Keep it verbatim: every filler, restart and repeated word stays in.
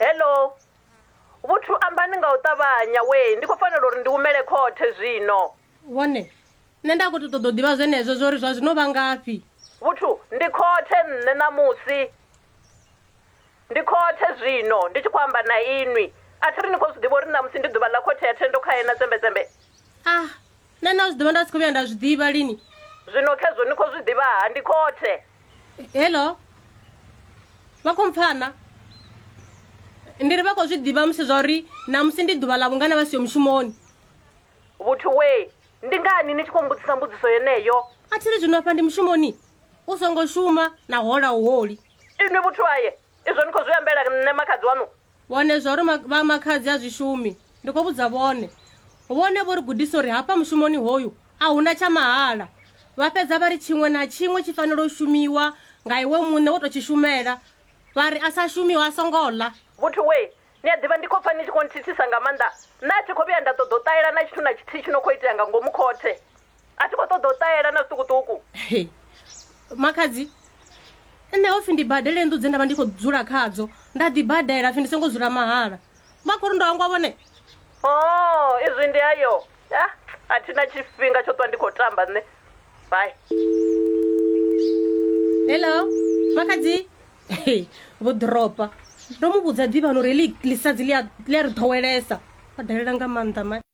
Hello. Vhuthu ambani nga u ṱavhanya we, ndi khou fanela uri ndi humele khothe zwino. Vhone, nṋe nda khou tou ṱoḓa u ḓivha zwenezwo zwo uri zwa zwino vha ngafhi. Vhuthu, ndi khothe nṋe ṋamusi. Ndi khothe zwino, ndi tshi khou amba na inwi. A thi ri ni khou zwi ḓivha uri ṋamusi ndi ḓuvha ḽa khothe ya Thendo khae na Tsembe-tsembe. Ah, nṋe nda zwi ḓivha nda si khou vhuya nda zwi ḓivha lini. Zwino khezwo ni khou zwi ḓivha-ha, ndi khothe. Hello. Vha khou mpfana? Ndi ri vha khou zwi ḓivha musi zwa uri ṋamusi ndi ḓuvha ḽa vhungana vha siho mushumoni. Vhuthu we, ndi ngani ni tshi khou mbudzisa mbudziso yeneyo? A thi ri zwino afha ndi mushumoni. U songo shuma na hola u holi. Inwi vhuthu aye, izwo ni khou zwi ambela nṋe makhadzi waṋu? Vhone zwa uri vha makhadzi a zwi shumi. Ndi khou vhudza vhone. Vhone vho ri gudisa uri hafha mushumoni hoyu a huna tsha mahala. Vha fhedza vha ri tshiṅwe na tshiṅwe tshi fanela u shumiwa nga iwe muṋe wo tou tshi shumela. Vha ri a sa shumiwa a songo ḽa. Vhuthu we, ni a ḓivha ndi khou pfa ni tshi khou nthithisa nga maanḓa. Nṋe a thi khou vhuya nda ṱoḓa u ṱahela na tshithu na tshithihi tshi no khou itea nga ngomu khothe. A thi khou ṱoḓa u ṱahela na zwiṱukuṱuku. Makhadzi, nṋe ho pfi ndi badele nnḓu dze nda vha ndi khou dzula khadzo. Nda ḓi badela pfi ndi songo dzula mahala. Vha khou ri ndo hangwa vhone. Oh, izwi ndi ayo. Ah, a thi na tshifhinga tsho ṱwa ndi khou tamba nṋe. Bye. Hello, makhadzi. Vho dropa. Ndo mu vhudza ḓivhani uri heḽi ḽisadzi ḽi a ri ḓowelesa. Vha dalela nga maanḓa mani.